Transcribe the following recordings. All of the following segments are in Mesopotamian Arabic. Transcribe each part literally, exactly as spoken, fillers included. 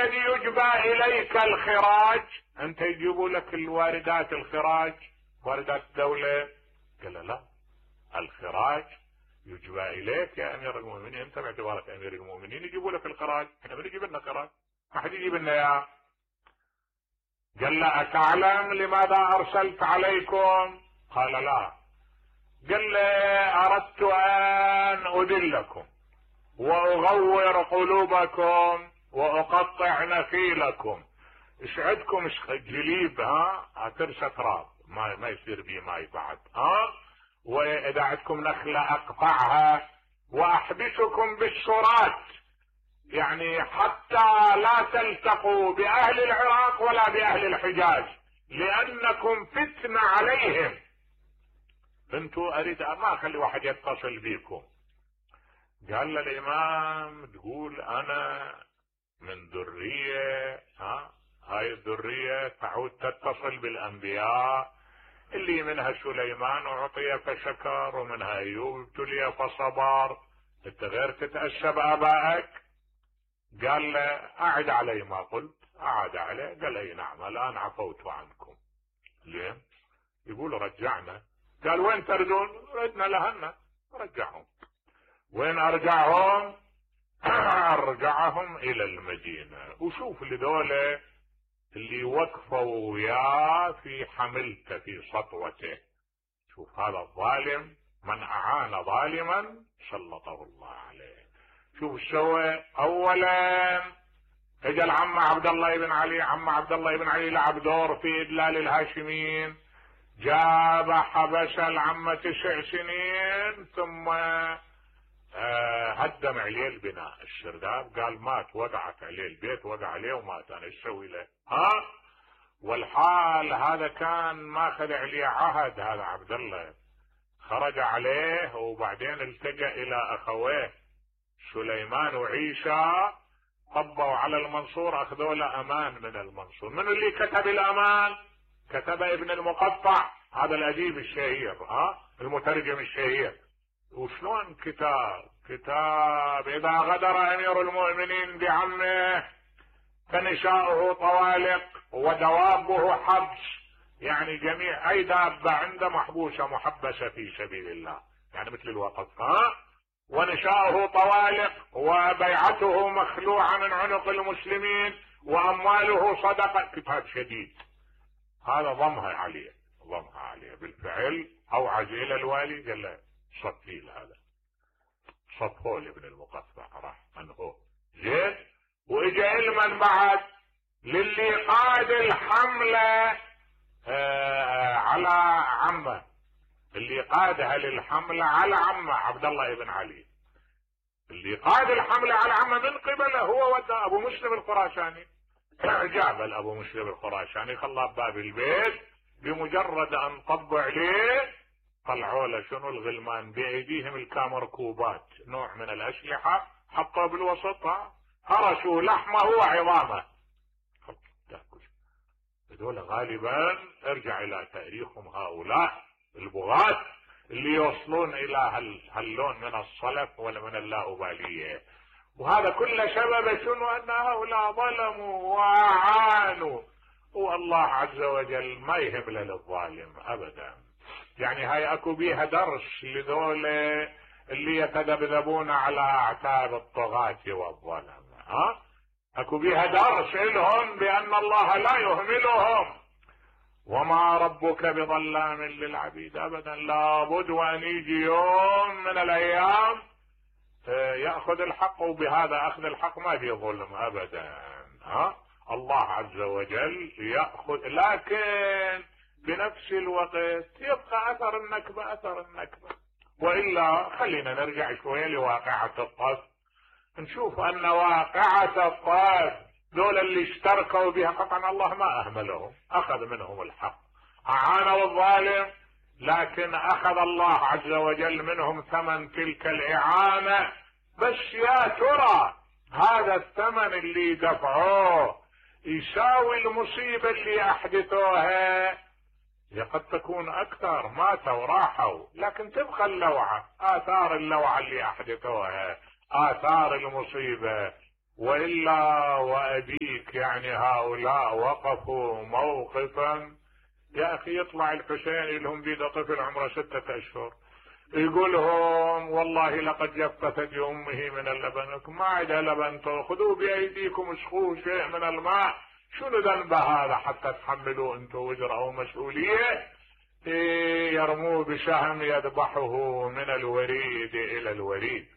الذي يجبى اليك الخراج؟ انت يجيبوا لك الواردات الخراج، واردات الدولة. قال لا، الخراج يجبى اليك يا امير المؤمنين، انت باعتبارك امير المؤمنين يجيبوا لك الخراج، احنا بنجيب لنا خراج، ما حد يجيب لنا اياه. قال له اتعلم لماذا ارسلت عليكم؟ قال لا. قال له اردت ان اذلكم واغور قلوبكم واقطع نخيلكم. ايش عندكم؟ ايش جليب؟ ها هترسى تراب، ما ما يصير بيه ماي بعد، ها واذا عندكم نخله اقطعها واحبسكم بالشرات، يعني حتى لا تلتقوا باهل العراق ولا باهل الحجاز لانكم فتنه عليهم. انتوا اريد ما اخلي واحد يتصل بيكم. قال للامام تقول انا من ذريه، ها هاي الذريه تعود تتصل بالانبياء اللي منها سليمان اعطي فشكر ومنها ايوب ابتلي فصبر، انت غير تتاسى بابائك؟ قال له اعد علي ما قلت. اعد عليه قال اي نعم الان عفوت عنكم. ليه؟ يقول رجعنا. قال وين تردون؟ ردنا لهنا. رجعهم. وين ارجعهم؟ ارجعهم الى المدينة. وشوف لذولا اللي وقفوا وياه في حملته في سطوته، شوف هذا الظالم من اعان ظالما سلطه الله عليه. شوف سوى. اولا اجى العم عبد الله بن علي، عم عبد الله بن علي لعب دور في ادلال الهاشميين، جاب حبس العم تسع سنين ثم آه هدم عليه البناء. الشرداب قال مات، وقعت عليه البيت، وقع عليه ومات، انا ايش اسوي له؟ ها والحال هذا كان ماخذ عليه عهد. هذا عبد الله خرج عليه وبعدين التجأ الى اخويه سليمان وعيسى، طبوا على المنصور، اخذوا له امان من المنصور. من اللي كتب الامان؟ كتب ابن المقطع، هذا الاديب الشهير، ها المترجم الشهير. وشلون كتاب؟ كتاب اذا غدر امير المؤمنين بعمه فنساؤه طوالق ودوابه حبس، يعني جميع اي دابة عنده محبوسة محبسة في سبيل الله، يعني مثل الوقف، ها ونساؤه طوالق وبيعته مخلوعة من عنق المسلمين وامواله صدقة. كتاب شديد هذا، ضمها عليه ضمها عليه بالفعل. اوعز الى الوالي قال له صفيل، هذا صفه لابن المقطع راح انهو زين. واجا علما بعد للي قاد الحملة آه على عمه، اللي قادها للحملة على عمه عبد الله بن علي، اللي قاد الحملة على عمه من قبله هو ودى ابو مسلم الخراساني. جاب ابو مسلم الخراساني خلاه بباب البيت، بمجرد ان طبوا عليه طلعوا له شنو؟ الغلمان بايديهم الكامركوبات، نوع من الاسلحة، حطوا بالوسط، هرسوا لحمه وعظامه. هذول غالبا ارجع الى تاريخهم هؤلاء البغاة اللي يوصلون الى هاللون من الصلف ولا من اللاؤبالية. وهذا كل سبب شنو؟ ان هؤلاء ظلموا واعانوا، والله عز وجل ما يهب للظالم ابدا. يعني هاي اكو بيها درس لذول اللي يتذبذبون على اعتاب الطغاة والظلم، ها اكو بيها درس لهم بان الله لا يهملهم، وما ربك بظلام للعبيد ابدا. لابد وان يجي يوم من الايام ياخذ الحق، وبهذا اخذ الحق ما في ظلم ابدا، ها الله عز وجل ياخذ، لكن بنفس الوقت يبقى اثر النكبه اثر النكبه. والا خلينا نرجع شويه لواقعه الطف، نشوف ان واقعه الطف دول اللي اشتركوا بها قطعا الله ما اهملهم، اخذ منهم الحق، اعانوا الظالم، لكن اخذ الله عز وجل منهم ثمن تلك الاعانه. بس يا ترى هذا الثمن اللي دفعوه يساوي المصيبه اللي احدثوها؟ قد تكون اكثر، ماتوا راحوا، لكن تبقى اللوعه، اثار اللوعه اللي احدثوها، اثار المصيبه. والا وابي عليك يعني هؤلاء وقفوا موقفا. يا اخي يطلع الحسين لهم بيده طفل عمره ستة اشهر يقولهم والله لقد جف ثدي امه من اللبن، ما عندها لبن، خذوه بايديكم اسقوه شيء من الماء. شنو ذنب هذا حتى تحملوا انتم وزر او مسؤوليه؟ يرموه بسهم يذبحه من الوريد الى الوريد.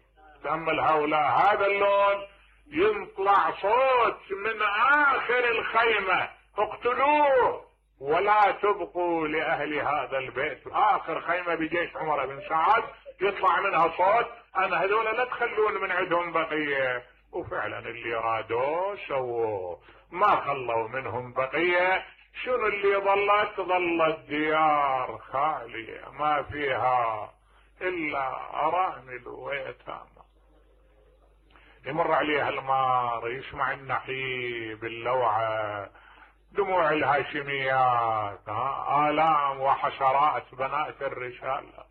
تأمل هؤلاء، هذا اللون يطلع صوت من اخر الخيمة اقتلوه ولا تبقوا لاهل هذا البيت. اخر خيمة بجيش عمر بن سعد يطلع منها صوت انا هذول لا تخلون من عندهم بقية. وفعلا اللي رادوه سووه، ما خلوا منهم بقية. شنو اللي ظلت؟ ظلت ديار خالية ما فيها الا ارامل ويتامى. يمر عليها المار يسمع النحيب اللوعة، دموع الهاشميات، آلام وحسرات بنات الرسالة.